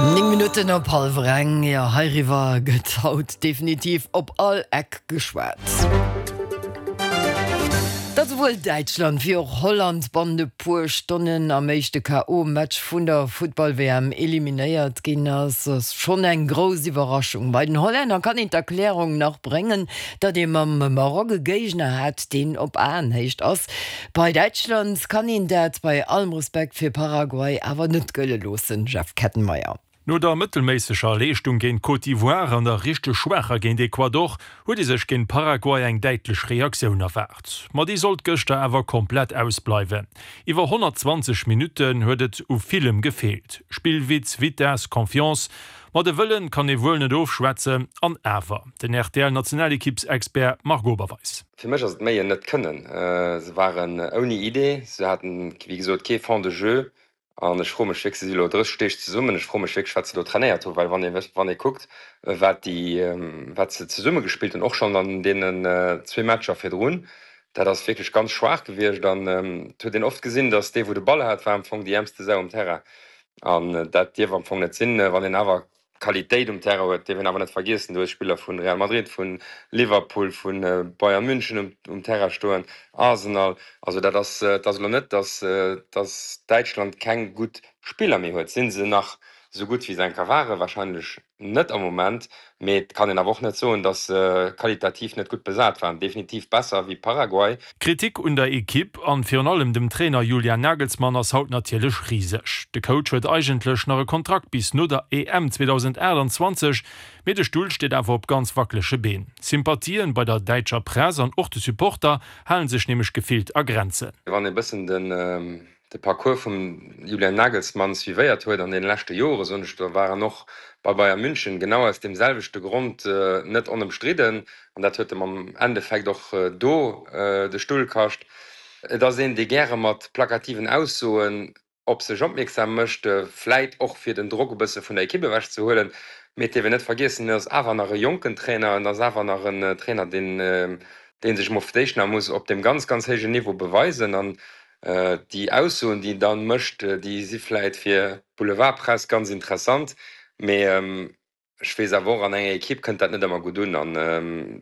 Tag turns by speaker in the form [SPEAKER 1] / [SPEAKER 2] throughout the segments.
[SPEAKER 1] 9 Minutten op hallwer eng, jo heiriwwer gëtt haut definitiv op all Eck geschwat. Datt esouwuel Däitschland wéi och Holland bannent e puer Stonnen am éischte KO-Match vun der Futtball-WM eliminéiert ginn ass, ass schonn eng grouss Iwwerraschung. Bei den Hollänner kann een d'Erklärung nach bréngen, datt ee mam Maroc e Géigner hat, deen op Aenhéicht ass. Bei Däitschland kann een dat bei allem Respekt fir Paraguay awer net gëlle loossen, Jeff Kettenmeyer.
[SPEAKER 2] No der mëttelméisseger Leeschtung géint Côte d'Ivoire an der richteg schwaacher géint Ecuador huet ee sech géint Paraguay eng däitlech Reaktioun erwaart. Ma déi sollt gëschter awer komplett ausbleiwen. Iwwer 120 Minutten huet et u villem gefeelt, Spillwitz, Vitess, Confiance. Ma de Wëllen kann ee wuel net ofschwätzen. An awer, den RTL-Nationalekippsexpert Marc Oberweis.
[SPEAKER 3] Fir mech ass et méi en net kënnen. Se waren ouni Idee, se haten wéi gesot kee Fond de jeu an ech froe mech wierklech, se si elo 30 Deeg zesummen, ech froe mech wierklech wat se do trainéiert hunn, well wann ee wann ee kuckt wat déi wat se zesumme gespillt hunn, och schonn an deenen zwee Matcher virdrun, dat ass wierklech ganz schwaach gewiescht an et huet een oft gesinn, datt dee wou de Ball hat, war am Fong déi äermste Sau um Terrain an dat dierf am Fong net sinn, wann een awer Qualitéit um Terrain huet, dierf een awer net vergiessen, du hues Spiller vu Real Madrid, vu Liverpool, vu Bayern München um Terrain stoen, Arsenal. Also dat ass, et ass elo net, datt datt Däitschland keng gutt Spiller méi huet. Si se nach esou gutt wéi se eng Kéier waren? Warscheinlech net am Moment, mee et kann een awer och net soen, datt se qualitativ net gutt besat waren. Definitiv besser wéi Paraguay.
[SPEAKER 2] D'Kritik un der Ekipp an virun allem dem Trainer Julian Nagelsmann ass haut natierlech riseg. De Coach huet eigentlech nach e Kontrakt bis no der EM 2028, mee de Stull steet awer op ganz wackelege Been. Sympathien bei der däitscher Press an och de Supporter halen sech nämlech gefillt a Grenzen.
[SPEAKER 3] Wann ee bëssen den de Parcours vum Julian Nagelsmann suivéiert huet an deene leschte Jore, soen ech, do war en och bei Bayern München genau aus deem selwechte Grond net onëmstridden an dat huet em am Endeffekt och do de Stull kascht. Et ass een, dee gäre mat plakativen Aussoen op sech opmierksam mécht, vläit och fir den Drock e bësse vun der Ekipp ewech ze huelen. Mee et dierf een net vergiessen, en ass awer nach e jonken Trainer, en ass awer nach en Trainer, deen dee sech mol fir d'éischt nach muss op deem ganz, ganz héijen Niveau beweisen. An Déi Aussoen, déi en da mécht, déi si vläit fir d'Boulevardpress ganz interessant, mee ech weess awer och, an enger Ekipp kënnt dat net ëmmer gutt un. An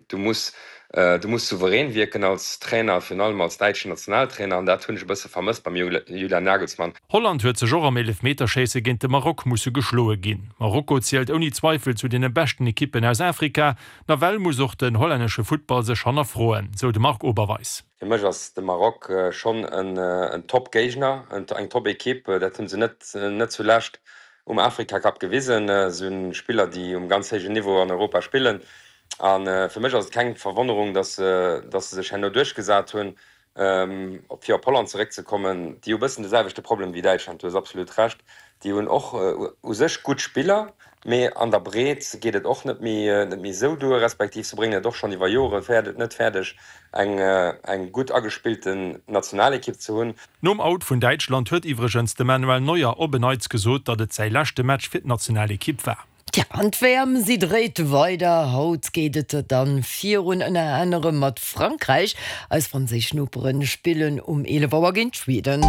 [SPEAKER 3] du muss, du muss souverän wierken als Trainer, virun allem als däitschen Nationaltrainer, an dat hunn ech e bësse vermësst beim Julian Nagelsmann.
[SPEAKER 2] Holland huet sech och am Eelefmeterschéisse géint de Maroc musse geschloe ginn. Marokko zielt ouni Zweifel zu deene beschten Ekippen aus Afrika. Nawell muss och den hollännesche Futtball sech hannerfroen, sou de Marc Oberweis.
[SPEAKER 3] Fir mech ass de Maroc schonn en Top-Géigner, eng Top-Ekipp. Dat hu se net net zulescht um Afrika-Cup gewisen. Se hunn Spiller, déi um ganz héijen Niveau an Europa spillen. A fir mech ass et keng Verwonnerung, datt se sech herno duerchgesat hunn. Fir op Holland zeréckzekommen, déi hu bëssen de selwechte Problem wéi Däitschland, du hues absolut Recht. Déi hunn och u sech gutt Spiller, mee an der Breet geet et och net méi net méi esou duer, respektiv se bréngen et och schonn iwwer Jore net fäerdeg, eng eng gutt agespillten Nationalekipp ze hunn.
[SPEAKER 2] Nom Out vun Däitschland huet iwwregens de Manuel Neuer op en Neits gesot, datt et säi leschte Match fir d'Nationalekipp war.
[SPEAKER 1] Tja, an d'WM, si dréit weider. Haut geet et dann virun, ënner anerem mat Frankräich. Eis franséisch Noperen spillen um 11 Auer géint Schweden.